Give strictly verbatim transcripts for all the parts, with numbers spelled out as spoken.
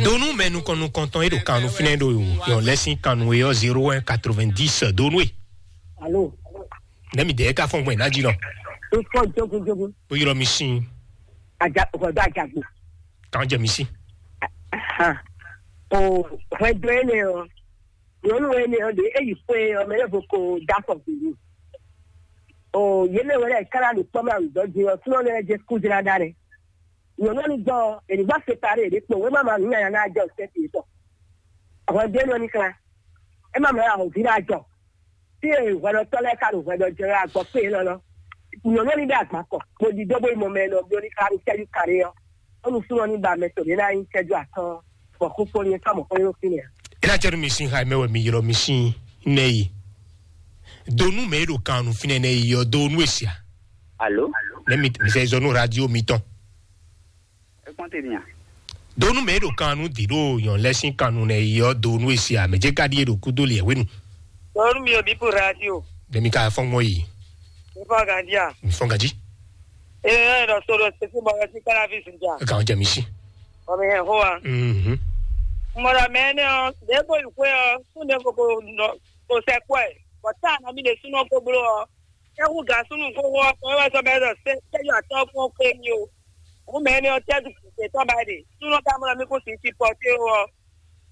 Donu mɛ nukɔn nukɔntɔn e ɖo kannu fínɛ́ ɖo yɔ lɛ́sín kannu e ɔ́ zéro un quatre-vingt-dix donu e. Alo. Nɛ́ mi dɛɛ ka fɔn gbɔn ná jí nɔ. Ifɔ jogun jogun. O yɔrɔ mi sin. Aja hwɛdo ajagbo. Kan jɛ mi sin. Ahan. O hwɛdo ene o. Nyɔnu ene o de eyi fue o mɛ lɛ vo ko da fɔ gbulu. O yele wɛrɛ kala ni kpɔmɔ awudɔ di o sunɔ lɛ jɛ kudra da rɛ. Nyɔnu ni gbɔ eni gba separe de kpɔ wema ma nu ya na jɔ sɛ ti tɔ. Hwɛdo ene ni kla. Ema mɛ ahɔvi na jɔ. Tí e hwɛɖɔtɔ́ lɛ́ɛ ka ɖo hwɛɖɔ jɛ wɛ agbɔ kpé élɔ́ lɔ. Nyɔ̌nu ɔ́ ní ɖe agban kɔ, bó ɖidó bó yi mɔ mɛ e nɔ bló ní xá ní cɛ́jú kaɖé ɔ́, bónú súnnu ɔ́ ní ba mɛ tɔn ɖě ná nyí cɛ́jú atɔ́ɔ́n, bɔ xóxó ní é fá mɔ̌ xó nyí xínɛ́ ǎ. É ná jɛ nú mi sín xá e mɛ wɛ mi ylɔ́ mi sín nɛ́ yi. Do nú mɛ e ɖo kan nú fínɛ́ nɛ́ yi ɔ́, do nú e sia. Alo? Nɛ́ mi mi sɛ zɔ nú radio mitɔn. É kpɔ́n te nya. Donu mɛ e ɖo kan nú dǐ ɖo nyɔ̌nu lɛ́ɛ sín kan nu nɛ yi ɔ́, donu e se amɛ jɛ ka ɖíe ɖo kúdó liɛ hwenu. Donu mi ò bí po radio. Ɖe mi ka fɔ́n gbɔn yi. Mi fɔ gandia. Mi fɔ́n ganji. Ee, ɖɔ so ɖo sese bɔ ɛ sí kára fi sin ja. E ka jɛ mi si. Ɔ mi hɛn xó wa. Mhm. Mɔɖɔ mɛ ne ɔ, ɖe ko yi xwe ɔ, kún ɖe ko ko nɔ ko sɛ kɔɛ. Bɔ tá na mi ɖe súnɔ ko bló ɔ. Éhú gǎn súnnu xóxó ɔ́ kpɔ́n é wɛ sɔ́ bɛ́ ɖɔ sɛ́ cɛ́jú atɔ́ kpɔ́n xwé mì o. Hǔn mɛ énɛ́ ɔ́, cɛ́jú kɛ̌tɔ́ ba ɖe. Súnnu ka mɔ mì kún sǐ sipɔ́té ó ɔ́,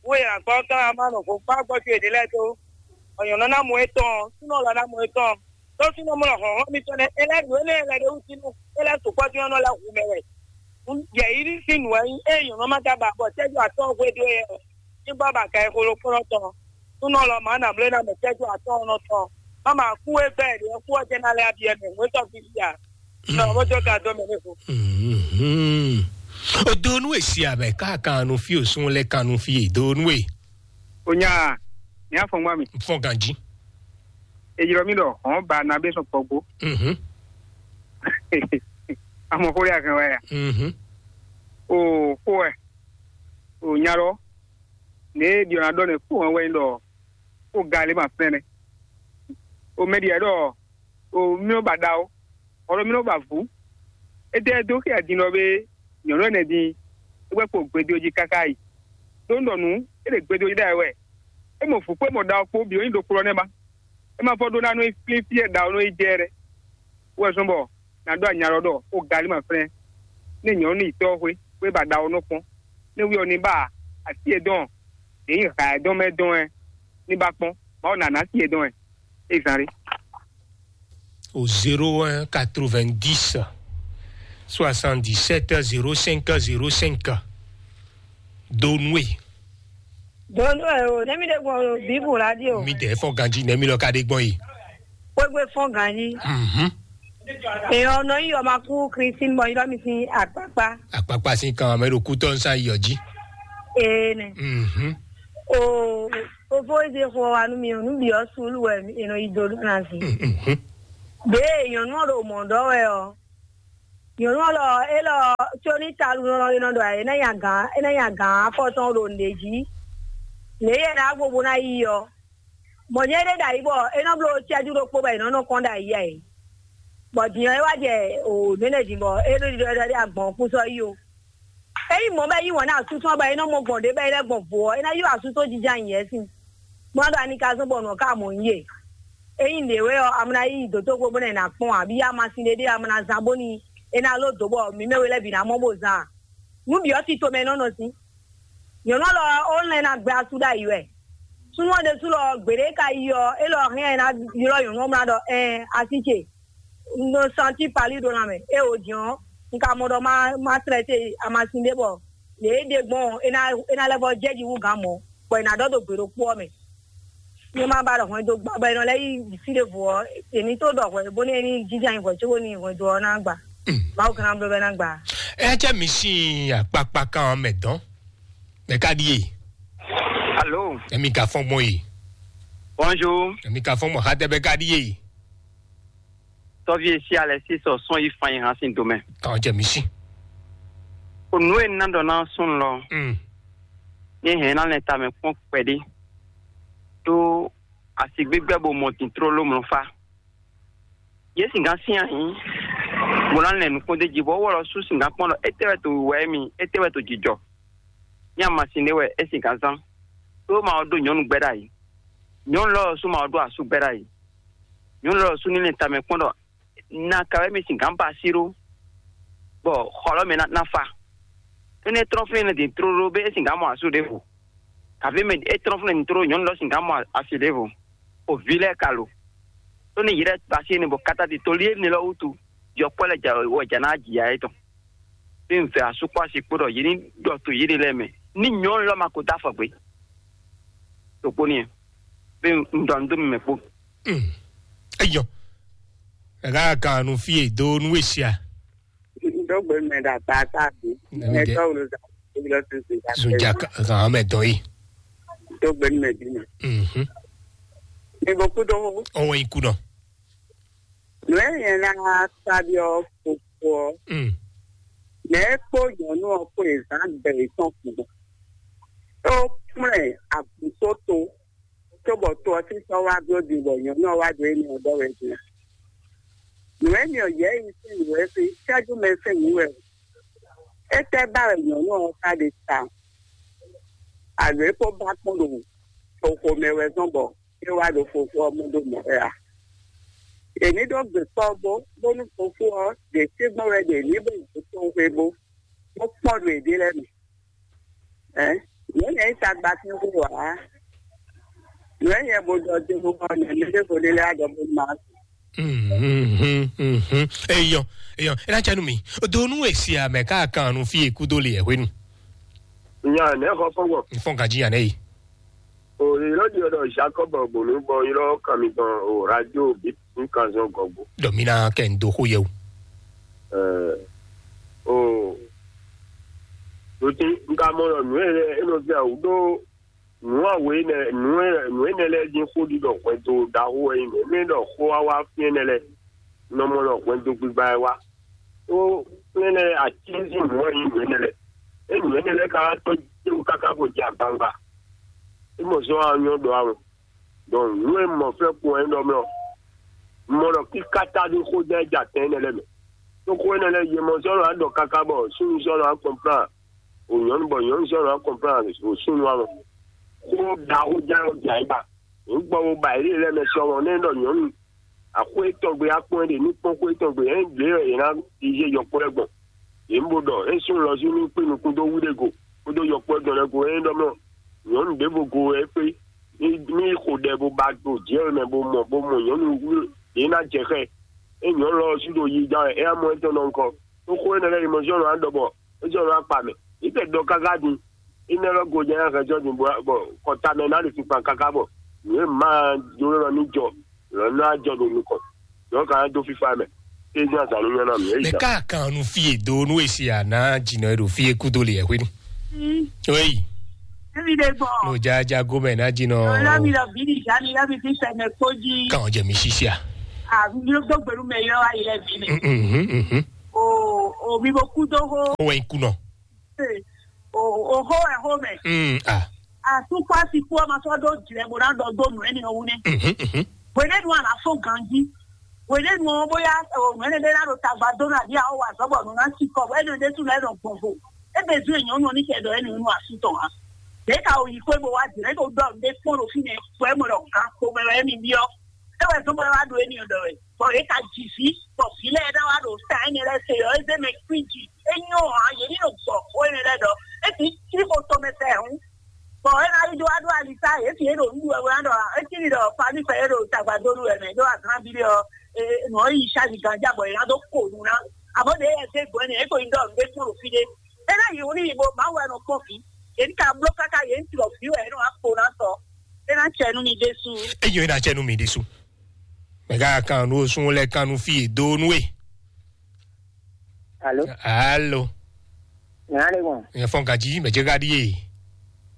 hǔn e nǎ gbɔ ɔ́ ka ma nɔ hǒgbá gbɔjɔ yěɖée lɛ́ɛ dó. Bɔ nyɔ̌nu ná mɔ étɔn, súnnu lɔ ná mɔ étɔn. Đó súnnu mɔ hlɔ̌nhlɔ́n mitɔn nɛ́ é lɛ́ ɖǒ énɛ́ lɛ́ ɖé wú jí nú é lɛ́ sukpɔ́ dín ɔ́ nɔ lɛ́ hu mɛ wɛ. Yɛ̌yíví sín nǔ wɛ nyí ée nyɔ̌nu ma ka ba bɔ cɛ́jú atɔ́ hwedó é ɔ́. Ní bɔ ba ka e xolo kplɔ́n tɔn. Súnɔ lɔ mǎ nǎ bló ná mɛ cɛ́jú atɔ́ɔ́nɔ tɔn. Má ma kú é bɛ́ ɖě kú ɔ́ jɛ ná lɛ́ abyɛ́ mɛ, nǔ e tɔ́ fífí a. Nɔ bó jó ka dó mɛ ní vo. Mhm. O do nú èsì abɛ káàkanu fí òsún lɛ kanu fí è do nú è. O nya, ní afɔngba mi. Fɔn ganji. Èyí lɔ mi ɖɔ hɔn ba na bɛ sɔn kpɔgbó. Mhm. Amɔ xó ya kan wɛ ya. Mhm. O xó ɛ. O nya lɔ. Ne ɖiɔ na ɖɔ ne kó hɔn wɛ ɖɔ kó ga lé ma fɛnɛ. O mɛ ɖiɛ ɖɔ o mi nɔ ba ɖa o, ɔlɔ mi nɔ ba vǔ. Étɛ́ dó xia din lɔ bé nyɔ̌nu ɛnɛ din é wɛ kpo gbedo jí káká yi. Ɖó un ɖɔ nǔ, é ɖe gbedo jí ɖa wɛ. É mɔ vǔ kpé mɔ ɖa ɔ kpó bǐ ó nyí ɖokplɔ́ nɛ́ ba. É ma fɔ ɖó ná nɔ yi flín fí e ɖa ɔ nɔ yi jɛ lɛ́ɛ. Wɛ zɔn bɔ nǎ ɖó anyalɔ ɖɔ xó galí ma flɛ́n. Ní nyɔ̌nu ní yi tɔ́ xwé, xwé ba ɖa ɔ nɔ kpɔ́n. Ní wí ɔ ní ba así e dɔn, ɖě nyí ha e dɔn mɛ dɔn ɛ ní ba kpɔ́n. Mawu nǎ ná así e dɔn ɛ. É zán ɖé. Au zéro un quatre-vingt-dix soixante-dix-sept zéro cinq zéro cinq. Donue. Donue o, ne mi ɖe gbɔn o, Bible radio. Mi ɖe fɔn ganji ne mi lɔ ka ɖe gbɔn yi. Kpégbé fɔ́n ganjí. Mhm. Èèyàn ọ̀nà yìí ọmọ akú Christine bọ̀ yìí lọ́mí sí àpápá. Àpápá sí kan àmọ́ èrò kú tọ́ ń sá iyọ̀ jí. Ee nẹ. Mhm. O fofó eze xɔ wa nú mi o, nú bǐ ɔ́ sú lú wɛ ènɔ yi do lú na sí. Mhm. Bě èèyàn nú ọ̀rọ̀ mọ̀ ɖọ́ wɛ ɔ. Nyɔ̌nu ɔ́ lɔ, é lɔ, có ní talu nɔ ɔ́, é nɔ ɖɔ é ná nya gǎn, é ná nya gǎn afɔ tɔn ɖo nǔɖé jí. Nǔ e yɛ ná gbogbo ná yi ɔ́, mɔ̌ nyɛ ɖé ɖo ayǐ bɔ é nɔ bló cɛ́jú ɖokpó bɔ è nɔ nɔ kɔn ɖo ayǐ ɛ. Bɔ din ɔ́, é wá jɛ o nǔ énɛ́ din bɔ é ɖó ɖiɖɔ ɖɔ ɖé agbɔ̌n kún sɔ́ yí o. Ényí mɔ̌ bɔ é yí wǎn nú asú tɔn bɔ é nɔ mɔ gbɔn ɖě bɔ é lɛ́ gbɔn vo ɔ́, é ná ylɔ́ asú tɔn jínjɔ́n ayǐ wɛ sín. Bó ná ɖo anikazɔ́ bɔ nǔ ɔ́ ka mɔ nyí e. Ényí nǔɖé wɛ ɔ́, a ma ná yi dǒtóxwé bó ná yi ná kpɔ́n ǎ, bó yá amasin ɖé ɖé a ma ná zán bónú é ná ló dǒ bɔ mǐ mɛ we lɛ́ɛ bǐ ná mɔ bó zán a? Nǔ bǐ ɔ́ tito mɛ é nɔ nɔ sín. Nyɔ̌nu ɔ́ lɔ ɔ́, ó lɛ́n ná gbɛ asú ɖ'ayǐ wɛ. Súnnu ɔ́ ɖésú lɔ, gbeɖé ka yi ɔ́, é lɔ hɛn ɛ ná ylɔ́ nyɔ̌nu ɔ́ mlá ɖɔ: "Ɛɛn, así ce, un nɔ santi pali ɖo lanmɛ, é o din ɔ́, un ka mɔ ɖɔ má má tlɛ́ te amasin ɖé bɔ lě e é ɖe gbɔn ɔ́, é ná é ná lɛ́ vɔ́ jɛ jí hú gǎn mɔ̌, bɔ è nǎ ɖɔ ɖo gbe ɖokpó ɔ́ mɛ." Ní ma ba ɖɔ hwɛndo gba bɔ è nɔ lɛ́ yí fí ɖěvo ɔ́, è ní tó ɖɔ hwɛ bónú é ní jínjɔ́n ayǐ hwɛ cóbónú hwɛndo ɔ́ ná gba. Mawu gán ná bló bɔ é ná gba. Ɛ jẹ́ mi sín akpakpa kan mɛ dɔn. Mɛ ka ɖíe. Alo. Emi ka fɔn gbɔn yi. Bonjour. Emi ka fɔn gbɔn xatɛ bɛ ka ɖíe. Tɔ́ví e sí alɛ sí sɔ sɔn yi fan yi hàn sín domɛ. Kan jɛ mi sí. O nǔ e ná ɖɔ ná sún lɔ. Mm. Ní hɛn ná lɛ ta mɛ kpɔn kpɛɖé. Tó asi gbígbɛ bo mɔ tìntró ló mlɔ fá. Yě sìngán sín ayǐ, bó ná lɛn nǔkpɔ́n d'é jí, bɔ é wɔ lɔ sú sìngán kpɔ́n ɖɔ étɛ́ wɛ to wǐwá émí, étɛ́ wɛ to jǐjɔ. Ní amasin ɖé wɛ é sin gǎn zán. Ɖó ma ɔ́ ɖó nyɔ̌nu gbɛ́ ɖ'ayǐ. Nyɔ̌nu lɔ ɔ́ sú ma ɔ́ ɖó asú gbɛ́ ɖ'ayǐ. Nyɔ̌nu lɔ ɔ́ sú ní lɛn tamɛ kpɔ́n ɖɔ na ka wɛ mi sin gǎn ba así ɖó, bɔ xɔ lɔ mɛ ná ná fa. Énɛ́ trɔ́n fínɛ́ din tlóló bé é sin gǎn mɔ asú ɖěvo. Kàfé mɛ é trɔ́n fínɛ́ din tlóló nyɔ̌nu lɔ sin gǎn mɔ asi ɖěvo. O vǐ lɛ́ɛ ka lo. Tó ní yě lɛ́ ba así énɛ́ bɔ kátádi tolí énɛ́ lɔ wútu, yɔkpɔ́ lɛ́ɛ jà wɛ jà ná jǐ ya étɔn. Bí un vɛ asú kpó asi kpó ɖɔ yě ní ɖɔ to yěɖée lɛ́ɛ mɛ. Ní nyɔ̌nu lɔ ma ko dó afɔ gbé. Ɖokpó n'i, bí un ɖɔ nǔ dó mi mɛ kpó. Eyɔ, ɛ ká kan nu fí e dó nú e sia. Dó gbe mɛ ɖo akpa ata bí. Mɛ tɔ́ wolo zan kó lɔ tún sí. Zunja kan mɛ dɔn yi. Dó gbe mɛ bí mɛ. Mhm. Ní bó kú dó. Ɔwɔ yi kú nɔ. Nǔ e nyɛ ná sa ɖi ɔ́ fofo ɔ́, Mm. Mɛ e kpó nyɔ̌nu ɔ́ kpó e zǎn gbɛ yětɔn kún gbɔn. É kplɔ́n ɛ agbǔsóto, cóbɔ to ɔ́ sín sɔ́ wá bló din bɔ nyɔ̌nu ɔ́ wá ɖo énɛ́ ɔ́ ɖɔ wɛ din. Nǔ e myɔ yɛ̌yi sín nǔ wɛ sín cɛ́jú mɛ sín nǔ wɛ o. Étɛ́ ba wɛ nyɔ̌nu ɔ́ ka ɖe ta? Alo é kpó ba kpɔ́n ɖo xomɛ wɛ zɔ́n bɔ é wá ɖo fofó ɔ́ mɔ ɖó mɔ̌ wɛ a? È ní ɖó gbe kpɔ́ bó, bónú fofó ɔ́ ɖe tɛ́gbɔ́n wɛ ɖe ní bó yi tɔn xwé bó, bó kpɔ́ ɖo yěɖée lɛ́ɛ mɛ. Ɛ, nǔ nyɛ yi tagba sín xó ǎ. Nǔ e nyɛ bo ɖɔ din bó xɔ nɛ̌ mɛ ɖěvo ɖé lɛ́ɛ ɖɔ bó ma. Mhm, mhm, mhm. Eyɔ, eyɔ, é ná cɛ nú mi. Donu e si amɛ ká kan nu fí e kúdó le ɛ hwenu. Nya nɛ xɔ fɔgbɔ. Fɔn gaji nya nɛ yi. O ylɔ di ɔdɔ Jacob bonu bɔ ylɔ kami gbɔn o radio bi n kan zɔn gɔgbo. Dɔ mi na kɛ n do xo yɛ o. Ɛ, o. Loti n ka mɔ ɖɔ nǔ e lɛ e nɔ fia wǔ ɖó nǔ awe nɛ nǔ e nǔ e nɛ lɛ dín xó ɖi ɖɔ hwɛndo ɖaxó wɛ nyí mɛ. Mɛ ɖɔ xó wa wá fíɛn nɛ lɛ nɔ mɔ ɖɔ hwɛndo gbigba wɛ wá. Ó nɛnɛ atínsín nǔ wɛ nyí nǔ énɛ́ lɛ́ɛ. É nǔ énɛ́ lɛ́ɛ ka wá tɔ́ jɛ́wú káká bó jɛ agbawungba. É mɔ sɔ́ wá nyɔ́ ɖɔ awɔn. Dɔn nǔ e mɔ fɛ́ kun ɛ ɖɔ mɛ ɔ́, mɔ ɖɔ kíkátá ɖó xó jɛ jɛ atɛn énɛ́ lɛ́ɛ mɛ. Tó xó énɛ́ lɛ́ɛ yě mɔ sɔ́ nɔ wá ɖɔ káká bɔ súnnu sɔ́ nɔ wá kɔnplán o nyɔ̌nu bɔ nyɔ̌nu sɔ́ nɔ wá kɔnplán o súnnu awɔn. Xó ɖaxó jɛ ɔ́ jɛ ayǐ ba. Nǔgbɔwó ba yě lɛ́ɛ mɛ sɔmɔ nɛ́ ɖɔ nyɔ̌nu axwé tɔn gbe akpɔ́n ɖe ní kpɔ́n xwé tɔn gbe hɛn lě wɛ yě ná yíyé yɔkpɔ́ lɛ́ɛ gbɔn. Yě ń bo ɖɔ é sún lɔzú ní kpé nukún dó wú ɖé go kpódó yɔkpɔ́ dɔn lɛ́ɛ go é ɖɔ mɔ nyɔ̌nu ɖěvo go wɛ é kpé ní ní xo ɖɛ bó ba ɖo jǐ ɔ́ mɛ bó mɔ bó mɔ nyɔ̌nu wú yě ná jɛ xɛ. É nyɔ̌nu lɔ ɔ́ sú ɖo yi gán wɛ é ná mɔ étɔn nɔ ŋkɔ. Tó xó énɛ́ lɛ́ɛ yi mɔ zɔ́n lɔ á ɖɔ bɔ é zɔ́n lɔ á kpa mɛ. Yě tɛ ɖɔ káká din. Ine lɔ go jɛ hɛn jɔ din bɔ kɔta mɛ na le tukpa kaka bɔ nue ma jo lɔ ni jɔ lɔ na jɔ do nukɔ. Yɔ ka do fifa mɛ. E jɔ azan nyɔ na mi. Mɛ ka kan nu fie do nu esi a na jinɔ e ɖo fie kudo le yɛ hwenu. Oyi. Ebi de gbɔ. No jaja gomɛ na jinɔ. Lɔ mi lɔ bi ni ja mi lɔ mi fi sɛ mɛ kpodzi. Kan jɛ mi sisia. A mi do gbɛlu mɛ yɔ ayi lɛ bi mɛ. Mhm, mhm. O o mi bo kudo ho. O wɛ kunɔ. O ho wɛ ho mɛ. Mm, ah. Asukpɔ asikpɔ ma sɔ do jlɛ bo na dɔ do nu ɛni ɔwu nɛ. Mhm, mhm. Wele nu ala fo ganji. Wele nu ɔ boya o mɛnɛ de na do tagba do na di awo wa zɔbɔ nu na si kɔ ɛni de tu na ɛnɔ gbɔnvo. Ebe zu enyɔ nu ni kɛ dɔ ɛni nu asu tɔn ha. De ka o yi kwe bo wa jlɛ ko dɔ de kpɔn lo fi nɛ kwe mo dɔ gan ko mɛ wɛ mi biɔ. E wɛ zɔbɔ wa do ɛni dɔ wɛ. Bɔ yě ka ji vǐ, bɔ vǐ lɛ́ɛ ná wá ɖo ta énɛ́ lɛ́ɛ se ɔ́, é zé mɛ kwíji. É nyɔ́ ǎ, yě ní ɖo gbɔ xó énɛ́ lɛ́ɛ ɖɔ é ti cí xó tɔn mɛ fɛ hǔn. Bɔ é ná yi ɖó wá ɖó ali sá, yě fi é ɖo nǔɖuɖu wɛ ná ɖɔ é cí ɖɔ paní fɛ é ɖo tagbadónu wɛ mɛ ɖó azán bí ɖé ɔ́, nǔ ɔ́ yi sázi ganjá bɔ yě ná dó ko nu ná. Àmọ́ ɖě yɛ zé gbɔn énɛ́, é ko yi ɖɔ nǔɖé kpɔ́n ɖo fí ɖé. É ná yi hu ní yi bo Mawu wɛ nɔ kpɔ́n vǐ. Yě ní ka bló káká yě ní tlɔ vǐ wɛ é nɔ wá kpo ná sɔ. É ná cɛ nú mi ɖésú. Eyɔ é ná cɛ nú mi ɖésú. Mɛ ka kan nu sun lɛ kan nu fi do nu e. Alo. Alo. Nya le gbɔn. Nya fɔn gaji mɛ jɛ gadi ye.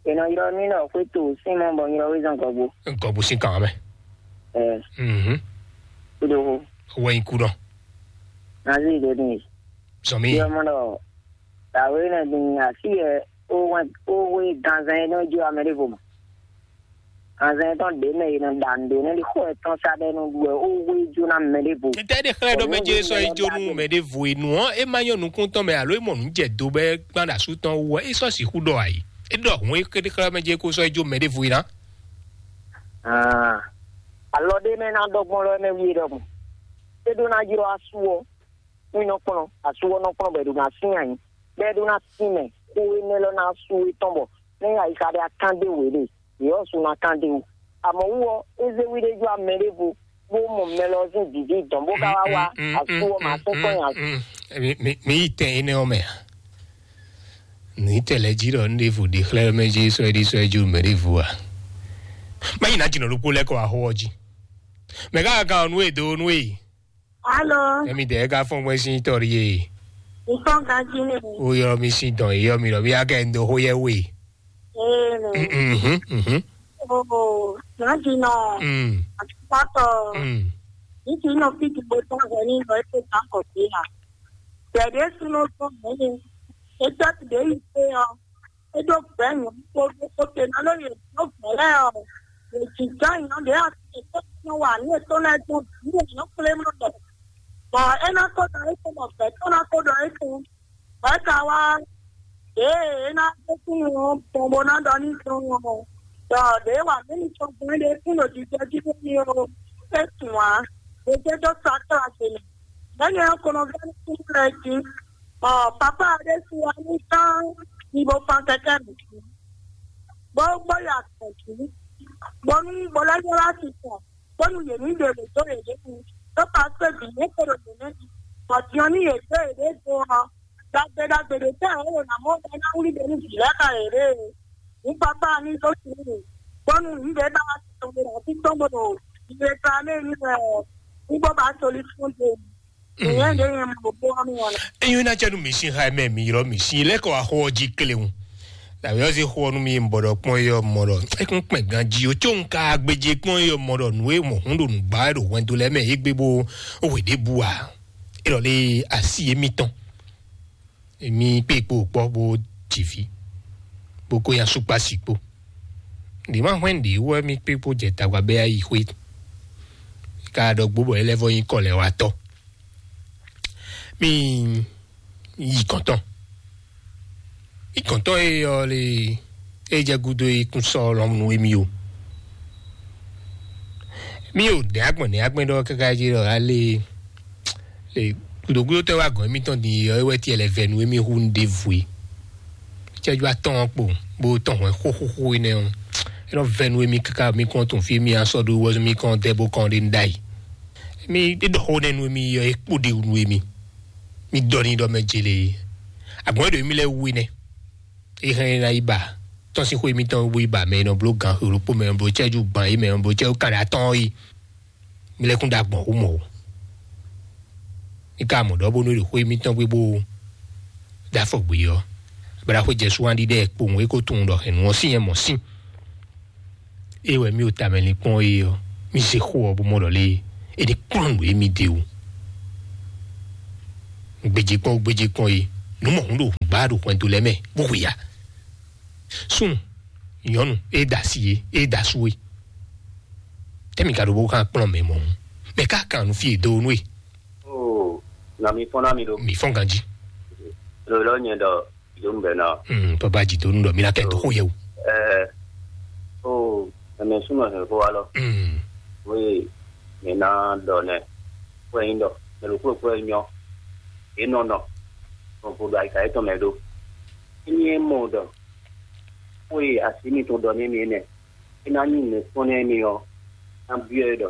Ena yɔrɔ mi nɔ fue to sin mɔ bɔ yɔrɔ wezan gɔgbo. Gɔgbo sin kan mɛ. Ɛ. Mhm. Kudo ho. Wɛn kudɔ. Nazi do ni. Sɔmi. Yɔ mɔ dɔ. Tawe na din asi ɛ o wɛn o we ganzan yɛ nɔ jo amɛ de vo mɔ. Azɛn tɔn ɖe mɛ yi nɔ ɖa nǔ ɖe nɛ ɖi xɔ etɔn sa ɖe nɔ ɖu wɛ ó wé jó ná mɛ ɖěvo. Tɛ ɖe xlɛ́ ɖɔ mɛ jɛ sɔ yi jó nú mɛ ɖěvo e nú ɔ́, é má nyɔ nukún tɔn mɛ alo é mɔ nǔ jɛ do bɛ gbán ɖo asú tɔn wú ɔ́, é sɔ́ sixú ɖɔ ayǐ. É ɖɔ hǔn é xlɛ́ mɛ jí é kó sɔ́ é jó mɛ ɖěvo é ná. Ah, alɔ ɖé mɛ ná ɖɔ gbɔn lɔ mɛ wi ɖɔhun. É ɖó ná ylɔ́ asú ɔ́, nú nɔ kplɔ́n asú ɔ́ nɔ kplɔ́n bɔ è ɖo ná sín anyi, bɔ é ɖó ná sín mɛ xó énɛ́ lɔ ná asú étɔn bɔ nɛ́ ayixa ɖé akán dé wě ɖe, yě ɔ́ su ná kán dé wú. Amɔ̌ wú ɔ́, é zé wí ɖé jó amɛ ɖěvo bó mɔ mɛ lɔ sín dǐdí dɔn bó ka wá wá asú ɔ́ mǎ sín kɔn nyi asú. Mi yi tɛn énɛ́ ɔ́ mɛ a? Nǔ yi tɛn lɛ́ɛ jí ɖɔ un ɖěvo ɖe xlɛ́ mɛ jí sɔ́ é ɖi sɔ́ é jí mɛ ɖěvo a? Má yi ná jǐnɔ ɖokpó lɛ́ kɔ axó ɔ́ jí. Mɛ ká ka ɔ́ nú e dó nú e. Alo. Emi dɛ ka fɔn gbɛn sin tɔri ye. Ntɔn ganji ne. O yɔrɔ mi sin dɔn yɔ mi lɔ mi akɛ ndo ho yɛ we. Ee ne. Mhm mhm. Oo, ganji nɔ. Mm. Atupatɔ. Mm. Niti nɔ fi ti bo tɔn hɛ ni nɔ ete ta kɔ fi ha. Bɛde suno tɔn hɛ ni. Eta ti de yi pe ɔ. Eɖo gbɛ̌ nyɔ̌nu kpódó kpóte ná ɖó yě dó gbɛ̌ lɛ́ɛ ɔ́, yě jǐjɔ́n nyɔ̌nu ɖě asi yětɔn nɔ wa nǔ yětɔn lɛ́ɛ dó bǐ yě nyɔ̌ kplé mɔ ɖɔ. Bɔ é ná ko ɖɔ étɔn bɔ gbɛ̌ tɔn ná ko ɖɔ étɔn. Bɔ é ka wá ɖěe é ná dó kúnnu ɔ́ gbɔn bó ná ɖɔ n'i gbɔn ɔ́, ɖɔ ɖěe wa mǐ mitɔn gbɔn é ɖe kún ɖo jijɛ jí nú mì ó, é tunwun ǎ. Yě jɛ dó sa kála ce mɛ. Bɛ́ nyɛ ɔ́ ko nɔ vɛ́ nú kúnnu lɛ́ɛ jí. Ɔ, papa ɖé su wá ní tán ní bó fán kɛkɛ mǐ jí. Bó gbɔ yi akpɔ̌ jí. Bónú bó lɛ́ nyɔ́ wá si tɔn, bónú yě ní ɖe wě dó yě ɖěbǔ. Tó ka kpé bǐ yě kpo ɖo yě mɛ. Bɔ din ɔ́ ní yě dó yě ɖě do ɔ́, ɖagbe ɖagbe ɖě tɛ́ ɔ́ wǒ ná mɔ bɔ é ná wlí ɖe nú vǐ lɛ́ɛ xá yě ɖe. Ní papa ní dó si nú mì. Bónú nǔ ɖě ba wá si tɔn ɖe ɖo así tɔn bó ɖo yě ta lé ní wɛ ɔ́, ní bó ba solution dó. Nyɛ ɖe nyɛ mo bo ɔ́ mi wɔna. Enyo na cɛ nu mi sin ha mɛ mi ylɔ mi sin lɛ kɔ axɔ ɔ́ jí kléwu. Dàbí ɔ́ zé xɔ nu mi bɔ ɖɔ kpɔn yɔ mɔ ɖɔ ekun kpɛn ganji o tso nka gbedze kpɔn yɔ mɔ ɖɔ nu e mɔ hun ɖo nugba ɖo hwɛndo lɛ mɛ egbe bo wɛ ɖe bu a. Elɔ le asi emitɔn. Emi kpe kpo kpɔ bo dzivi. Bo ko ya sukpasi kpo. Ɖi ma hwɛn ɖi wɛ mi kpe kpo jɛ tagba bɛ ayi xwe. Ka ɖɔ gbo bɔ elɛvɔ nyi kɔ lɛ wa tɔ. Mi yi kɔntɔn. Yi kɔntɔn e yɔ le e jɛ gudo e kun sɔ lɔmnu emi o. Mi o nɛ agbɔn nɛ agbɛn ɖɔ kaka jí ɖɔ ale le gudogudo tɛ wa gɔn emi tɔn din yɔ ewɛ tiɛ lɛ vɛ nu emi hu nu de vwe. Cɛju atɔn kpo bo tɔn hwɛ xoxoxo enɛ o. Enɔ vɛ nu emi kaka mi kɔn tun fi mi asɔ ɖo wɔ mi kɔn dɛ bo kɔn ɖe nu ɖayi. Mi ɖe ɖɔ xo nɛ nu emi yɔ ekpo ɖe nu emi. Mi dɔ ni ɖɔ mɛ jele. Agbɔn ɖo emi lɛ wu enɛ. E hɛn na yi ba tɔn si xo emi tɔn bo yi ba mɛ nɔ blo gan xo ɖokpo mɛ nɔ blo cɛju gban yi mɛ nɔ blo cɛju kan ɖe atɔn yi. Mi lɛ kún ɖo agbɔn xo mɔ o. Mi ka mɔ ɖɔ bónú ɖo xo emi tɔn gbé bó ɖo afɔ gbé ɔ. Bla xo jɛ suwan ɖiɖɛ kpowun e ko tunwun ɖɔ hɛn nu ɔ sín yɛn mɔ sín. Ée wɛ mì o tamɛ linkpɔ́n é ɔ́, mì se xó ɔ́ bó mɔ ɖɔ lé é ɖi kplɔ́n nǔ e mì ɖe wú. Gbejekpɔ́n gbejekpɔ́n é, nǔ mɔ̌hun ɖo gbǎ ɖo hwɛndo lɛ́ɛ mɛ bó hu ya. Súnnu, nyɔ̌nu, é da asi é, é da asú é. Tɛ́ mì ka ɖo bó kan kplɔ́n mɛ mɔ̌hun? Mɛ ká kan nǔ fí e dó nú é. Oo, na mi fɔ́n ná mi ɖo. Mi fɔ́n ganjí. Lo lɔ nyɛ ɖɔ ìdónú bɛ ná. Mm, papa jidonu ɖɔ mi na kɛ to xó yɛ o. Ɛɛ, o ɛmɛ súnmọ́ hɛn fó wa lɔ. Mm. Wéè, mi ná ɖɔ nɛ. Fó ɛyin ɖɔ mɛ ɖo kúrò kúrò nyɔ. Yě nɔ nɔ. Ɔn kò ɖo àyíká yětɔn mɛ ɖó. Émi é mɔ ɖɔ xó e asi mitɔn ɖɔ nú mi énɛ́, é ná nyí nǔ kpɔ́n nú mi ɔ́, ná byɔ́ ɛ ɖɔ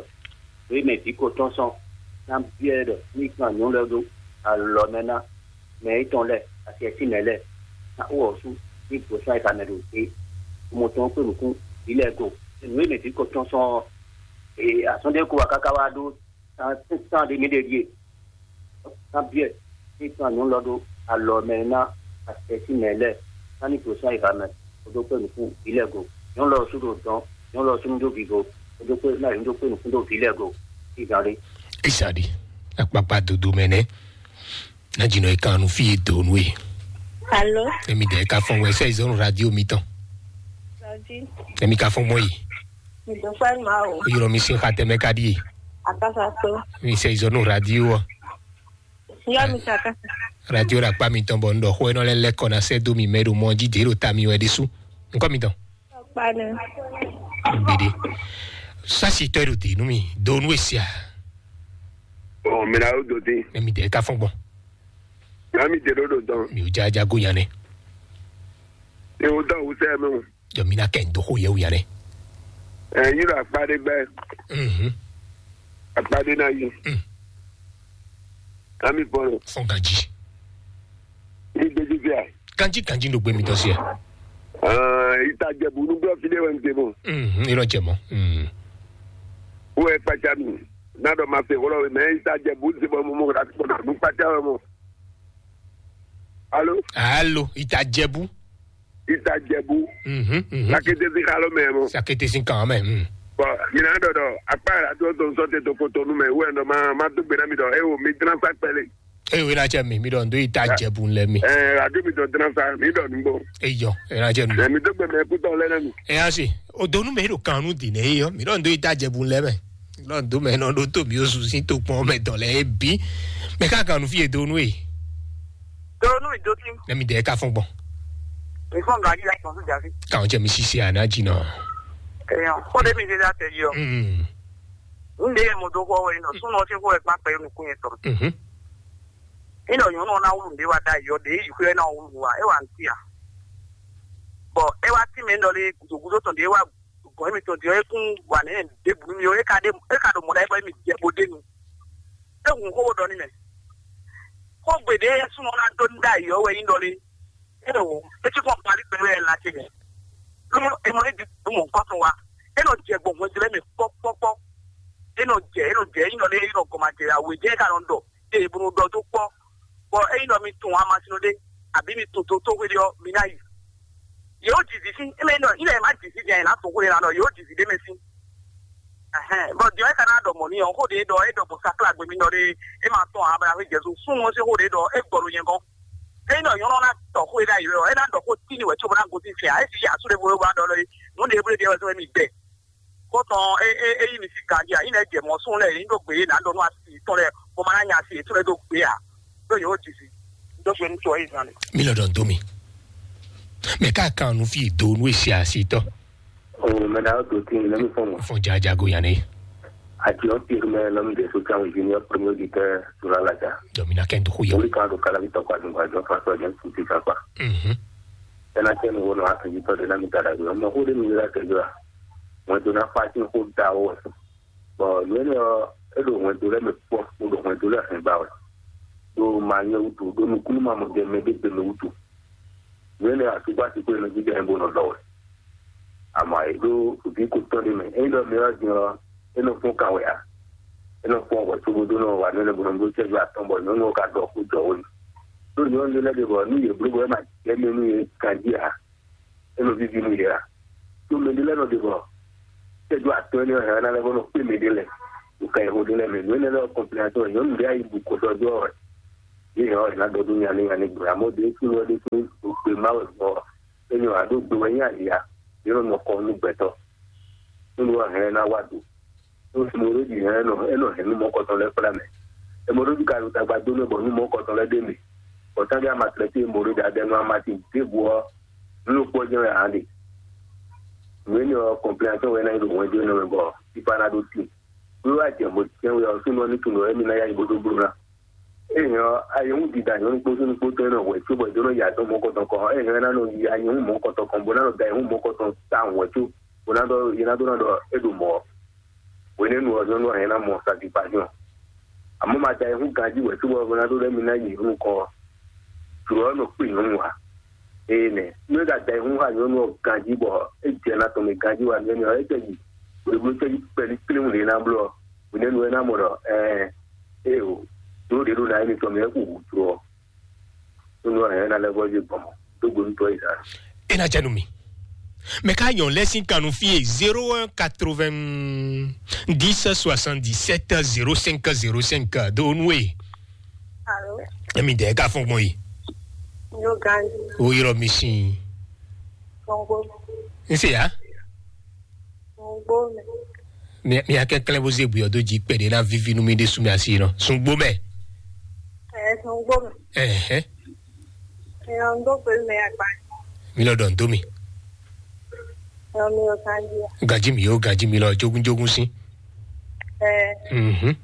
nǔ e mɛ vǐ ko tɔ́n sɔ́, ná byɔ́ ɛ ɖɔ ní kan nyɔ̌nu lɛ́ɛ ɖó alɔ mɛ ná mɛ étɔn lɛ́ɛ, asi ɛ sín mɛ lɛ́ɛ, ná xo ɔ́ sú ní gbǒsán e ka mɛ ɖo gbé, mɔ tɔn kpé nǔkún vǐ lɛ́ɛ go. Nǔ e mɛ vǐ ko tɔ́n sɔ́ ɔ́, azɔn ɖé ko wá káká wá ɖó tán tán ɖé mí ɖe ɖíe. Ná byɔ́ ɛ, ní tɔn nyɔ̌nu lɔ ɖó alɔ mɛ ná asɛsí mɛ lɛ́ɛ, ná ní gbǒsán yi ha mɛ, kó dó kpé nǔkún vǐ lɛ́ɛ go. Nyɔ̌nu lɔ sú ɖo dɔn, nyɔ̌nu lɔ sú nú ɖó vivo, kó dó kpé ná yě dó kpé nǔkún ɖó vǐ lɛ́ɛ go. Ìzan ɖé. Ìzan ɖé. Akpakpa dodo mɛ nɛ́. Ná jǐnɔ e kan nu fí e dǒ nú e. Alo. Emi dɛ ka fɔn wɛ sɛ izɔnu radio mi tɔn. Emi ka fɔn mɔ yi. Mi dɔ fɛ ma o. O yɔrɔ mi sin xatɛ mɛ ka ɖi e. Akasa to. Mi sɛ izɔnu radio ɔ. Yɔ mi sa akasa. Radio ɖo akpa mitɔn bɔ un ɖɔ xó enɔ lɛ lɛkɔ ná sɛ́ dó mi mɛ ɖo mɔ jí dě ɖo ta mi wɛ ɖésú. Nukɔ mi dɔn. Kpanɛ. Gbede. Sasi tɔ ɖo di nu mi do nu esia. Ɔ, mi na o do di. Ne mi de ka fɔn gbɔn. Na mi de ɖo ɖo dɔn. Mi o ja ja go yanɛ. E o dɔn o sɛ mi o. Jɔ mi na kɛ n do xo yɛ o yanɛ. Ɛ, yi ɖo akpa ɖe gbɛ. Mhm. Akpa ɖe na yi. Mm. Na mi fɔn. Fɔn ganji. Ní gbèjì fíà. Ganji ganji ɖo gbé mi tɔ sí ɛ. Ìtajẹ̀bù nígbà fídíò ẹ̀ ń tẹ̀ mọ́. Mhm, irọ́ jẹ mọ́. Mhm. Ó ẹ kpácá mi. Nádọ̀ máa fẹ́ wọ́lọ́ mẹ́ ìtajẹ̀bù ti bọ́ mọ́ mọ́ kó dà kó dà ní kpácá wẹ́ mọ́. Alo. Alo, ìtajẹ̀bù. Ìtajẹ̀bù. Mhm, mhm. Sakete sí kálọ́ mẹ́ mọ́. Sakete sí kàn mẹ́. Mhm. Bɔn, mi náà dɔ̀dọ̀ akpá yàrá tó tó ń sọ tètò kó tónú mẹ́ wú ẹ̀ ń dọ̀ máa máa tó gbéra mi dọ̀ ẹ wò mí dínà sá pẹ́lẹ́. Eyo, ena cɛ mi, mi ɖɔ ndo yi ta jɛbu lɛ mi. Ɛ, adu mi dɔ dran sa mi dɔ nugbo. Eyɔ, ena cɛ nu. Ɛ, mi dɔ gbɛ mɛ kutɔ lɛ nɛ mi. Ɛ, asi, o donu mɛ ɖo kanu di nɛ eyɔ, mi ɖɔ ndo yi ta jɛbu lɛ mɛ. Mi ɖɔ ndo mɛ nɔ ɖo to mi osu si to kpɔn mɛ dɔ lɛ ebi. Mɛ ka kanu fi e donu e. Donu mi do ti. Ne mi de ka fɔn gbɔn. Mi fɔn ga yi la kɔn su jafi. Kan jɛ mi sisi ana ji nɔ. Eyɔ, ko de mi de da te yɔ. Mm. Nde mo do ko we no, su no se ko e pa pe nu ku e to. Mhm. Ino nyɔnu ɔ́ ná wlú nǔɖé wá ɖ'ayǐ ɔ́, ɖě yi xwé ɔ́ ná wlú wá, é wá ŋutí ǎ. Bɔ é wá tín mɛ ɖɔ lé gǔdo gúdo tɔn ɖě wá gɔ̌n émítɔn din ɔ́, é kún wa nɛ̌ ɖěbǔ nú mì ɔ́, é ka ɖe é ka ɖo mɔ̌ ɖ'ayǐ bɔ émí jɛ bó ɖ'é nu. É hun xó bó ɖɔ n'i mɛ. Xógbe ɖě súnɔ ná dó ní ɖ'ayǐ ɔ́ wɛ nyí ɖɔ lé. É ɖo é cí kpɔ́n Mali gbɛ wɛ la ce mɛ. Ló é mɔ é ɖi mɔ nukɔn tɔn wa. É nɔ jɛ gbɔn hwɛndo lɛ́ɛ mɛ kpɔ́kpɔ́kpɔ́. É nɔ jɛ é nɔ jɛ é nɔ lé é nɔ gɔmajɛ awe jɛ é ka nɔ ɖɔ. Eye bó nɔ ɖɔ dó kpɔ́. Bɔ é nɔ mi tun amasin ɖé, àbí mi tun tó tó hwéɖé ɔ́, mi ná yi. Yě ó jǐ vǐ sín, é mɛ nɔ ilẹ̀ má jǐ sín jɛ ná tun hwéɖé ná nɔ, yě ó jǐ vǐ ɖé mɛ sín. Ɛhɛn, bɔ diɔ é ka ná ɖɔ mɔ̌ n'i ɔ́, xó ɖě ɖɔ é ɖɔ bɔ sakla gbe mi nɔ ɖé, é ma tɔ́n Abraham Jezu súnnu ɔ́ sín xó ɖě ɖɔ é gbɔ ɖo nyɛ gɔ́n. É nɔ nyɔ́nɔ ná tɔ xó e ɖ'ayǐ wɛ ɔ́, é ná ɖɔ xó tíni wɛ cóbɔ ná gosín fɛ́n ǎ. É cí yě asú ɖěvo e wá ɖɔ lé, nǔ ɖě blé ɖe wɛ sɔ́ émí gbɛ. Xó tɔn é é é yí mi sí ganjí ǎ, nyí lɛ́ jɛ mɔ̌ súnnu lɛ́ɛ, nyí ɖó gbě yě ná ɖɔ nú asi yětɔn lɛ́ɛ, bó ma ná nya asi yětɔn lɛ́ɛ ɖó gbě ǎ. Ɖó yě ó ji sí. Dó gbe nú tɔ é zan lɛ. Mi lɔ dɔn dó mi. Mɛ ká kan nu fi do nu esi asi tɔ. O mɛ na do tin lɛ mi fɔn mo. Fɔn jajago yan ne. Ati o ti mɛ lɔ mi de so kan junior premier de tɛ sura la ja. Jɔ mi na kɛ n to ko yɔ. Wuli kan do kala mi tɔ kwa dun kwa jɔ fa sɔ jɛ su ti ka kwa. Mhm. Ena tɛ mi wo no a kan ji tɔ de na mi ta da do. Mo ko de mi la tɛ do. Mo do na fa tin ko da o. Bɔ nǔ énɛ́ ɔ́, é ɖo hwɛndo lɛ́ɛ mɛ kpɔ́, bó ɖo hwɛndo lɛ́ɛ hɛn ba wɛ, ɖo ma nyɛ wútu, ɖo nukúnnú ma mɔ jɛ mɛ ɖé gbe mɛ wútu. Nǔ énɛ́ ɔ́, asúgbó asi kó e nɔ jínjɔ́n ɛ bó nɔ lɔ wɛ. Amɔ̌, è ɖó vǐ ko tɔn ɖé mɛ. Ényí ɖɔ mɛ ɔ́ din ɔ́, é nɔ fɔ́n kan wɛ ǎ. É nɔ fɔ́n hwɛ cóbó ɖó nɔ wa nǔ énɛ́ bó nɔ bló cɛ́jú atɔn bɔ nyɔ̌nu ɔ́ ka ɖɔ xó jɔ wó n'i. Ɖó nyɔ̌nu ɖé lɛ́ɛ ɖe bɔ nú yě bló bɔ é ma jɛ mɛ nú yě ganjí ǎ. É nɔ víví nú yě ǎ. Tó mɛ ɖé lɛ́ɛ nɔ ɖe bɔ tɛ́jú atɔ́ énɛ́ hɛn ná lɛ́ bó nɔ kpé mɛ ɖé lɛ́ɛ ɖo ka yɛhó ɖé lɛ́ɛ mɛ. Nǔ énɛ́ lɛ́ɛ ɔ́ kɔnpilɛ́natɔ́ nyɔ̌nu ɖé ayi bu kɔ sɔ́ dó ɔ́ wɛ. Yě hɛn ɔ́, yě ná dɔ dó nya ní nya ní gblɔ. Amɔ̌ ɖě kún wɛ ɖé kún gbe má wɛ gbɔ. É nyɔ ǎ ɖó gbe wɛ nyí ali ǎ. Yě nɔ nɔ kɔ nú gbɛtɔ́. Nú wɛ hɛn ná wá do. Nú Mɔɖóji hɛn é nɔ é nɔ hɛn nú mɔ̌kɔtɔn lɛ́ɛ kplá mɛ. Mɔɖóji ka ɖo tagba dó nú bɔ nú mɔ̌kɔtɔn lɛ́ɛ ɖ'é mɛ. Bɔ tángɛ amatlɛtí e Mɔɖóji adɛ nú amasin ɖěbǔ ɔ́, nú ló kpɔ́ jɛ́n wɛ ǎ ɖe. Nǔ énɛ́ ɔ́, kɔnpilɛnasɔ́n wɛ ná nyí ɖo hwɛndo énɛ́ mɛ bɔ fífá ná ɖó tíin. Nú wá jɛ mɔ̌ jɛ́n wɛ ɔ́, súnnu ɔ́ ní tunwun ɖɔ émí ná yá nyi bó dó bló ná. Ényɔ́, ayihún dida nyɔ̌nu kpó súnnu kpó tɔn e nɔ hwɛ cóbɔ è dó nɔ yi azɔn mɔ̌kɔtɔn kɔn ɔ́, ényɔ́ é ná nɔ yi ayihún mɔ̌kɔtɔn kɔn bó ná nɔ da ayihún mɔ̌kɔtɔn tawun hwɛ có, bó ná ɖɔ yě ná dó ná ɖɔ é ɖo mɔ̌ ɔ́. Hwenɛ́nu ɔ́, nyɔ̌nu ɔ́ hɛn ná mɔ satisfaction. Àmọ́ ma da ayihún ganjí hwɛ cóbɔ bó ná dó ɖɔ émí ná yi nukɔn ɔ́, jlǒ ɔ́ nɔ kpé nyɔ̌nu ǎ. Ée nɛ́, nú é ka da ayihún xá nyɔ̌nu ɔ́ ganjí bɔ é jɛ ná tɔn mɛ ganjí wá nú énɛ́ ɔ́, é tɛ yi hweblo cɛ́jú kpɛlí kléwún ɖě ná bló ɔ́, hwenɛ́nu é ná mɔ ɖɔ ɛɛ, éeǒ, jlǒ ɖě ɖo ná émítɔn mɛ é xo hǔ jló ɔ́. Nú ɔ́, hɛ̌n ná lɛ́ vɔ́ yí gbɔn mɔ̌, dó gbe nú tɔ́ Izlayɛ́li. É ná jɛ nú mi. Mɛ ká nyɔ̌ lɛ́ sín kan nú fí e zéro un quatre-vingt-dix soixante-dix-sept zéro cinq zéro cinq dó nú e. Alo. Emi dɛ ka fɔn gbɔn yi. Yo ganji. O yɔrɔ mi sin. Gbɔngbɔ. N se ya. Gbɔngbɔ mɛ. Mi mi akɛ klɛn bó zé buyɔ dó jí kpɛɖé ná víví nú mi ɖé sú mi asi nɔ. Sungbo mɛ. Ɛ sungbo mɛ. Ɛhɛn. Ɛ ɔn dó pé mɛ agba. Mi lɔ dɔn dó mi. Nɔ mi o kan jí. Gaji mi o, gaji mi lɔ jogun jogun sí. Ɛ, Mhm.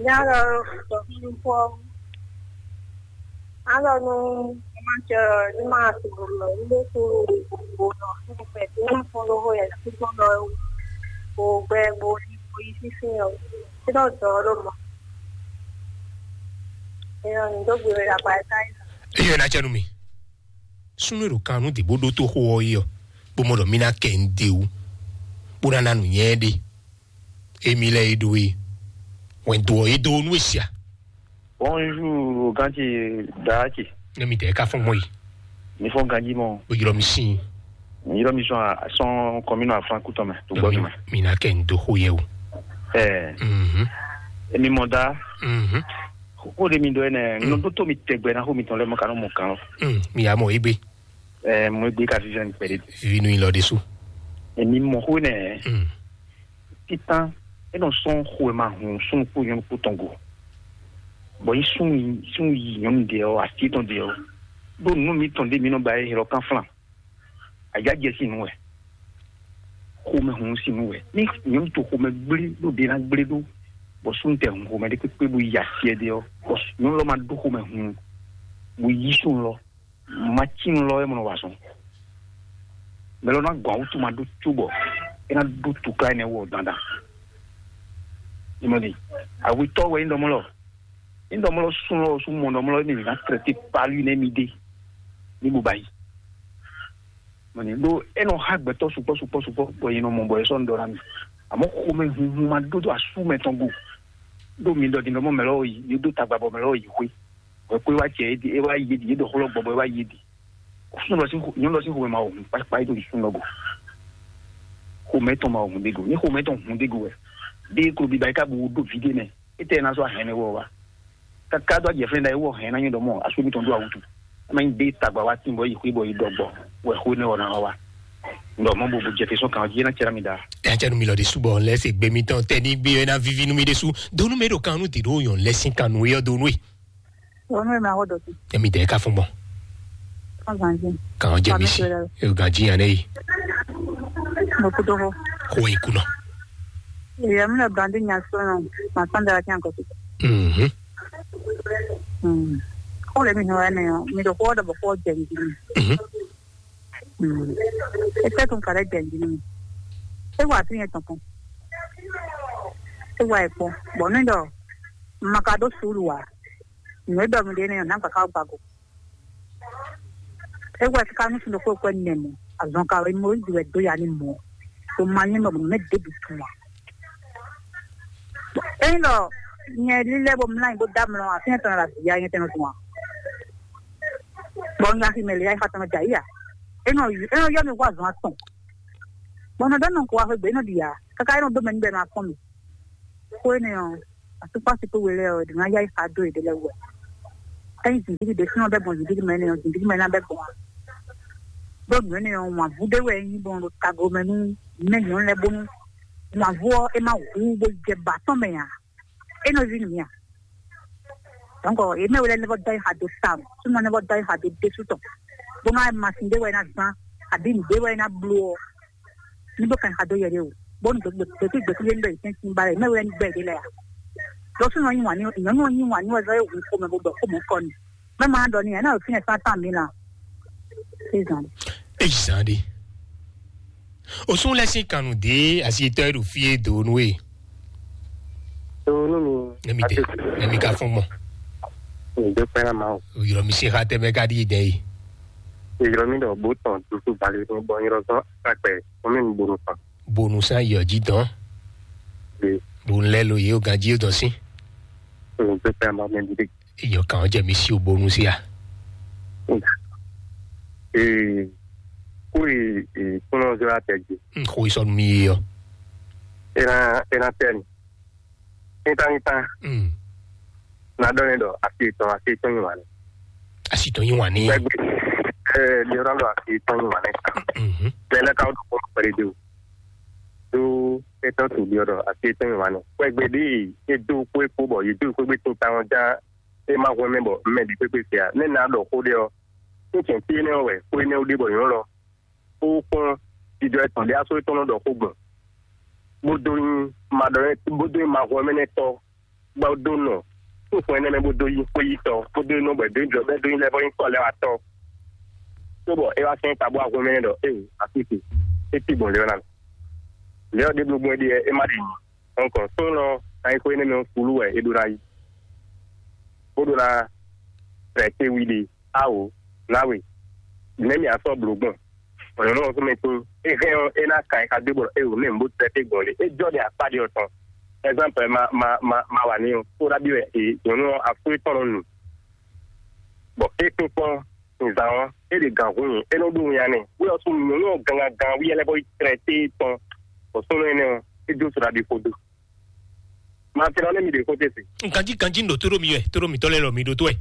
Nya lɔ sɔ fún fɔ. Alɔ nu ma cɛ ni ma tu lo ni bɛ tu lo nɔ fún pɛ ni ma fún lo ho yɛ tu fún lɔ o gbɛ bo ni bo yi sísí yɔ. Ti dɔ dɔ lo mɔ. Eyɔ ni do gbe la ba ta yi. Eyɔ na cɛ nu mi. Súnnu e ɖo kan nú dě bó ɖótó xó ɔ́ é ɔ́, bó mɔ ɖɔ mì ná kɛ nǔɖé wú, bó ná ná nǔnywɛ́ ɖé. Émí lɛ́ɛ é ɖó é, wɛn dó ɔ́ é dó nú é sia. Bonjour, ganji, daaki. Ne mi tɛ ka fɔn mɔ yi. Mi fɔn ganji mɔ. Bó ylɔ mi sin. Mi ylɔ mi sɔn sɔn kɔmínú aflankú tɔn mɛ, tó gbɔ tɔn mɛ. Mi ná kɛ nǔɖó xó yɛ o. Ɛɛ. Mhm. Emi mɔ da. Mhm. Xó ɖé mi ɖɔ ɛnɛ, Mm. nɔ ɖótó mi tɛgbɛ ná xó mitɔn lɛ́ɛ mɔ kanɔ mɔ kan lɔ. Mm, mi yá mɔ égbé. Ɛɛ, mɔ égbé ka vívɛ mi kpɛɖé. Vivi nú ilɔ ɖésú. Emi mɔ xó nɛ. Mm. Títán, é nɔ sɔn xó e ma hun súnnu kpó nyɔ̌nu kpó tɔn go. Bɔ yí súnnu yí súnnu yí nyɔ̌nu ɖe ɔ́, así tɔn ɖe ɔ́. Ɖó nǔ mitɔn ɖé mi nɔ ba é ylɔ́ kan flan. Ayǎ jɛ sín nú wɛ. Xomɛhunhun sín nú wɛ. Ní nyɔ̌nu to xomɛ gblé ɖó ɖě ná gblé ɖó, bɔ súnnu tɛ hun xomɛ ɖé kpékpé bó yi asyɛ ɖé ɔ́, bɔ nyɔ̌nu lɔ ma ɖó xomɛhunhun, bó yí súnnu lɔ, ma cí nu lɔ é mɔ nɔ wa azɔn. Mɛ lɔ ná gɔn awútu ma ɖó cóbɔ é ná ɖó tukla énɛ́ wɔ dandan. Ìmọ̀ ni, awitɔ wɛ nyí ɖɔmɔ lɔ. Nyí ɖɔmɔ lɔ sún lɔ sún mɔ ɖɔmɔ lɔ émi ná trɛtɛ palu nɛ mi ɖe. Ní bo ba yi. Mɔni ɖó é nɔ xa gbɛtɔ́ sukpɔ́ sukpɔ́ sukpɔ́ bɔ yě nɔ mɔ bɔ é sɔ́ nǔ ɖɔ ná mi. Àmọ́ xomɛ hunhun ma ɖó dó asú mɛ tɔn go. Ɖó mi ɖɔ din ɖɔmɔ mɛ lɔ yi, yě dó tagba bɔ mɛ lɔ yi xwé. Bɔ é kó é wá jɛ é ɖi, é wá yi é ɖi, é ɖɔ xó lɔ gbɔ bɔ é wá yi é ɖi. Súnnu lɔ sín xo-, nyɔ̌nu lɔ sín xomɛ ma wɔ hun kpákpá é ɖo súnnu lɔ go. Xomɛ tɔn ma wɔ hun ɖé go. Ní xomɛ tɔn hun ɖé go wɛ. Ɖé klo biba é ka bu ɖo ví ɖé mɛ. Étɛ́ ná sɔ́ hɛn ɛ wɔ wá? Kaka dó ajɛ fɛn ɖa é wɔ hɛn ná nyí ɖɔ mɔ asú mitɔn ɖó awútu. Ama nyí ɖé tagba wá tín bɔ yi xwé bɔ yi ɖɔ gbɔ. Wɛ xó nɛ wɔ ná wá. Ɖɔ mɔ bo bo jɛ fɛ sɔn kan jí ná cɛ mi da. Ɛ cɛ nu mi lɔ de subɔ lɛ se gbe mi tɔn tɛ ní gbé ɛ ná vivi nu mi de su. Donu mi ɖo kan nu ti ɖo yɔn lɛ sin kan nu yɔ donu e. Onu e ma xɔ dɔti. Emi dɛ ka fún bɔ. Kan zanji. Kan jɛ mi si. E ganji yan ne yi. Mo kudo ho. Ko yi kunɔ. Ye mi le brandi nya so no. Ma san dara kyan ko. Mhm. Mm. Ko le mi ho ne yo. Mi do ko do ko jɛ mi. Mhm. Mm. E tɛ tun kare jɛ mi. E wa tin e tɔn. E wa e ko. Bon, ne do. Ma ka do sulu wa. Nǔ e ɖɔ mi ɖe énɛ́ ɔ́, nǎ gbǎ ká wá gbago. É wɛ ká nú sun ɖokpó kwɛ nɛ mɔ, azɔn ka wɛ Mɔyízi wɛ dó ya ní mɔ, ɖo ma nyí mɛ bɔ mɛ ɖěbǔ tunwun ǎ. Ényí ɖɔ nyɛ lílɛ́ bó mlá nyi bó dó amlɔ afínɛ́ tɔn ɖo azǐ ya nyɛ tɛn nɔ tunwun ǎ. Bɔ un nya xi mɛ lě ya xá tɔn nɔ jɛ ayǐ ǎ. É nɔ é nɔ yɔ mì hú azɔn atɔn. Bɔ un nɔ ɖɔ nɔ ko wá xwé gbe é nɔ ɖi ǎ. Káká é nɔ dó mɛ nú bɔ é nɔ afɔ́n mì. Xó énɛ́ ɔ́, asúkpási kpó we lɛ́ɛ ɔ́, è ɖǒ ná yá yi xa dó yěɖée lɛ́ɛ wú wɛ. Ényí zǐngídi ɖésúnɔ bɛ́ gbɔn zǐngídi mɛ énɛ́ ɔ́, zǐngídi mɛ ná bɛ́ gbɔn ǎ. Ɖó nǔ énɛ́ ɔ́, wǎnvú ɖé wɛ é nyí gbɔn ɖo tago mɛ nú mɛ nyɔ̌nu lɛ́ɛ bónú wǎnvú ɔ́, é má hu bó jɛ ba tɔn mɛ ǎ. É nɔ ví nǔ mì a? Donc, yě mɛ wɛ lɛ́ɛ nɛ́ vɔ dó ayi xa dó tawun, súnɔ nɛ́ vɔ dó ayi xa dó ɖésú tɔn, bónú ayɛ masin ɖé wɛ é ná zán, abǐ nǔ ɖé wɛ é ná bló ɔ́, ní bó kan yi xa dó yɛ ɖé o. Bónú gběkúgbé ní bɛ yě tɛ́n sín ba lɛ, mɛ wɛ ní gbɛ yě lɛ a? Lɔ súnɔ yí wǎn ní, nyɔ̌nu ɔ́ yí wǎn ní wɛ zɔ́ é hu xomɛ bó ɖɔ xó mɔ̌ kɔ n'i. Mɛ ma ɖɔ n'i ǎ, ná ɖo fínɛ́ sán tán mǐ la. Sézan. Ezan ɖe. Osún lɛ sín kannú dě asitɔ́ e ɖo fí e dǒ nú e. Tó nú mi. Ne mi dé, ne mi ka fún gbɔn. Mi dó pẹ́ ná ma o. Yɔrɔ mi se xa tɛ mɛ ka ɖi dɛ yi. Yɔrɔ mi ɖɔ bó tɔn tutu bali ní bɔ yɔrɔ zɔn akpɛ fún mi bonu kan. Bonu san yɔ jí dɔn. Bonu lɛ lo ye o ganji o dɔn sí. Mi dó pẹ́ ná ma mi dé. Iyɔ kan jɛ mi si o bonu sí a. Ee, kó e kúnlọ́nzɔ́ atɛ jí. N xo isɔ mi yi yɔ. Ena ena tɛni. Níta níta. Mm. Na dɔ ne dɔ asi tɔn asi tɔn yi wa ne. Asi tɔn yi wa ne. Gbɛgbɛ ɛɛ liɔrɔ dɔ asi tɔn yi wa ne. Mhm. Bɛlɛ ka do kɔn pɛrɛ de o. Do etɔn to liɔrɔ asi tɔn yi wa ne. Gbɛgbɛ de e do kó ekó bɔ ye do kó gbé to ta ɔn ja e ma hwɛ mɛ bɔ mɛ di kpekpe fia ne na dɔ xó de ɔ. Ní cɛ̌n fí énɛ́ ɔ́ wɛ xó énɛ́ ɔ́ ɖe bɔ nyɔ̌nu lɔ kó kpɔ́n jijɔ etɔn ɖé asó étɔn nɔ ɖɔ xó gbɔn, bó dó nyí maɖɔnɛ́, bó dó nyí mahwɛmɛnɛtɔ́, bó dó nɔ xó xwɛn énɛ́ mɛ, bó dó nyí xwéyítɔ́, bó dó nyí nɔ bɔ è dó nyí jɔ bɛ́ dó nyí lɛ́ vɔ́ nyí tɔ́ lɛ́ wá tɔ́. Cóbɔ é wá sɛ́n ta bó wá hwɛ́n mɛ ɖɔ éeǒ, asísi, é cí gbɔn lě ɔ́ ná mɛ. Lě ɔ́ ɖěbǔ gbɔn é ɖe é má ɖe nyi. Dɔnk sónɔ ná nyí xó énɛ́ mɛ ɔ́, fulú wɛ é ɖó ná yí, bó ɖó ná trɛtɛ́ wi ɖe. Awo, nǎwe, nɛ̌ mì a sɔ́ blǒ gbɔn? Bɔ nyɔ̌nu ɔ́ súnmɛ tín, é hɛn ɔ́, é ná kan ɛ xá dó bɔ é wǒ nɛ́ bó tɛ́ gbɔn lé. É jɔ ɖe akpá ɖé ɔ́ tɔn. Ɛ́gbámpɛ́ ma ma ma ma wa ní ɔ́, kó ɖa bí wɛ è nyɔ̌nu ɔ́ afú étɔn nɔ nu. Bɔ é kpínkpɔ́n nzan ɔ́, é ɖe gǎn hun nyi, é nɔ ɖó winnyá n'i. Wí ɔ́ sú nyɔ̌nu ɔ́ gangan gan wí ɛlɛ́ bɔ yi tlɛ téé tɔn. Bɔ súnnu énɛ́ ɔ́, é dó so ɖaɖi xo dó. Ma tlɛ ɔ́ nɛ́ mi ɖe xó tɛ́ se. Ganjí ganjí ń ɖo tóɖó mi wɛ, tóɖó mǐtɔn lɛ́ɛ lɔ mi ɖó tó wɛ.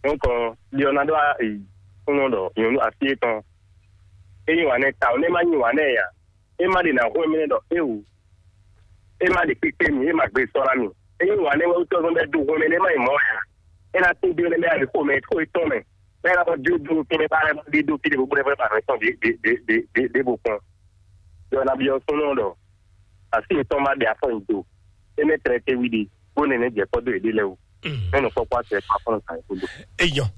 Donc, ɖiɔ ná ɖó kúnɔ ɖɔ nyɔ̌nu así étɔn é nyi wǎn nɛ́ ta ɔ́, nɛ́ má nyi wǎn nɛ́ ǎ. É má ɖe ná xwé mɛ ɖɔ é wǔ. É má ɖe kpíkpé mì, é má gbé sɔ́ ná mì. É nyi wǎn nɛ́ wɛ wútu ɔ́ bɛ́ dó hwɛmɛ nɛ́ má nyi mɔ̌ ǎ. É ná tín dó nɛ́ bɛ́ ali xó mɛ, xó étɔn mɛ. Bɛ́ ná xɔ dó dó kɛ́nɛ bá lɛ́ ɖe dó fí ɖé bó bó lɛ́ fɛ ba nɔ tɔn ɖé ɖé ɖé ɖé ɖé bó kpɔn. Ɖɔ nabí ɔ́ súnnu ɖɔ así yětɔn má ɖe afɔ nyi do. Énɛ́ tlɛ tɛ́ wí ɖe, bó nɛ́ nɛ́ jɛ kpɔ́ dó yěɖée lɛ́ɛ wú. Mɛ nɔ kpɔ́kpɔ́ atɛ kpá fɔ́n nɔ kan yě kúndú. Eyɔn.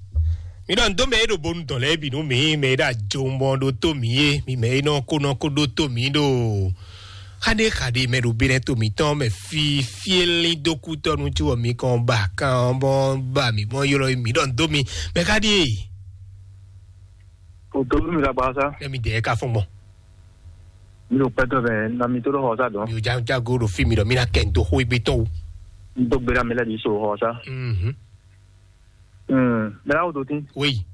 Mi ɖɔ ndo mɛ e ɖo bonu dɔn lɛ bi nu mi mɛ e ɖo ajo mɔ ɖo to mi ye mi mɛ e nɔ ko nɔ ko ɖo to mi ɖo. Xaɖe xaɖe mɛ ɖo benɛ to mi tɔn mɛ fi fieli do kutɔnu ci wɔ mi kɔn ba kan bɔ ba mi bɔ yɔlɔ mi ɖɔ ndo mi mɛ xaɖe. O to mi la ba sa. Mɛ mi dɛ ka fɔn gbɔn. Mi ɖo pɛtɔ mɛ na mi to ɖo xɔ sa dɔn. Mi ò ja jago ɖo fi mi ɖɔ mi na kɛ n to xó egbe tɔn o. N to gbéra mi lɛ bi so xɔ sa. Mhm. Mɛ la wo do tin. Oui.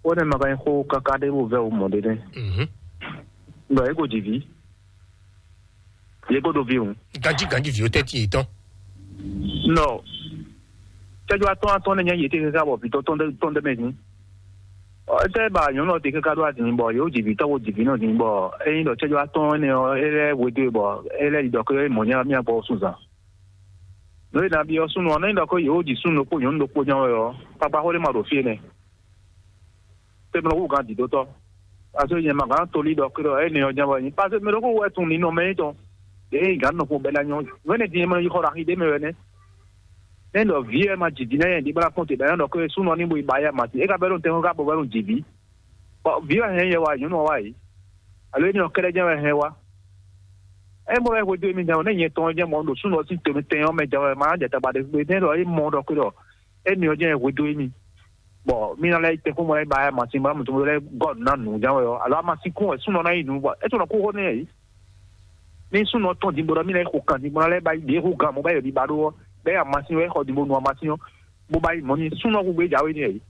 Wo ne ma ka xo kaka ɖe wo vɛ wo mɔ ɖe ne. Mhm. Nɔ e ko dzi vi. Ye ko do vi o. Ganji ganji vi o tɛ ti tɔn. Nɔ. Cɛjɔ atɔn atɔn ne nya ye te kaka bɔ vitɔ tɔn de tɔn de mɛ ni. Ɔ, ete ba nyɔnu ɔ te kaka ɖo adini bɔ yewo dzi vitɔ wo dzi vi nɔ dini bɔ eyin ɖɔ cɛjɔ atɔn ne ɔ ele wedo bɔ ele ɖɔ ke mɔ nya mia gbɔ sunzan. No e na bi ɔ sunu ɔ ne ɖɔ ke yewo dzi sunu ɖokpo nyɔnu ɖokpo nya wɛ ɔ, kpakpa xo ɖe ma ɖo fie nɛ. Te mlɔ wu gan didotɔ. Aso nyɛ ma gan toli ɖɔ ke ɖɔ ene ɔ nya wɛ nyi. Parce que mɛ ɖokpo wɛ tun ni nɔ mɛ tɔn. Ee gan nɔ ko bɛ na nyɔ. Wɛne din mɛ yi xɔ ɖo axi ɖe mɛ wɛ nɛ. Ne ɖɔ vi ɛ ma dzi di nɛ yɛ di bla kɔn te ɖa nyɔ ɖɔ ke sunu ɔ ni bo yi ba ya ma ti. E ka bɛ ɖo tɛn ka bɔ bɛ ɖo dzi vi. Bɔ vi ɔ hɛn yɛ wa nyɔnu ɔ wa yi. Alo ene ɔ kɛɖɛ jɛ wɛ hɛn wa. E mɔ wɛ hwedo mi jɛ wɛ ne nyɛ tɔn jɛ mɔ ɖo sunu ɔ si to mi tɛn ɔ mɛ jɛ wɛ ma jɛ taba ɖe gbe ne ɖɔ e mɔ ɖɔ ke ɖɔ ene ɔ jɛ hwedo mi. Bɔ mi na lɛ tɛ ko mɔ lɛ ba ya masin bɔ mutu lɛ gɔd na nu jan wɛ ɔ alo amasin kun wɛ sunɔ na yi nu bɔ e tɔnɔ ko hɔ ne yi. Ni sunɔ tɔn di bɔ mi na yi ko kan di bɔ na lɛ ba yi de ko gan mo ba yɔ di ba do ɔ bɛ ya masin wɛ xɔ di bo nu amasin ɔ bo ba yi mɔ ni sunɔ ko gbe jawe ni yi.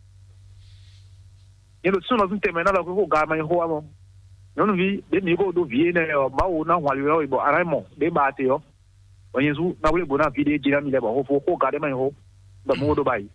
Ni do sunɔ tun tɛmɛ na lɔ ko ko ga ma yi xo wa mɔ. Nyɔnuvi de mi ko do vi ne ɔ mawu na hwali wɛ ɔ bɔ ana mɔ de ba te ɔ. Ɔ nyɛ zu na wle bo na vi de jina mi lɛ bɔ xo fo ko ga de ma yi xo. Bɔ mo do ba yi.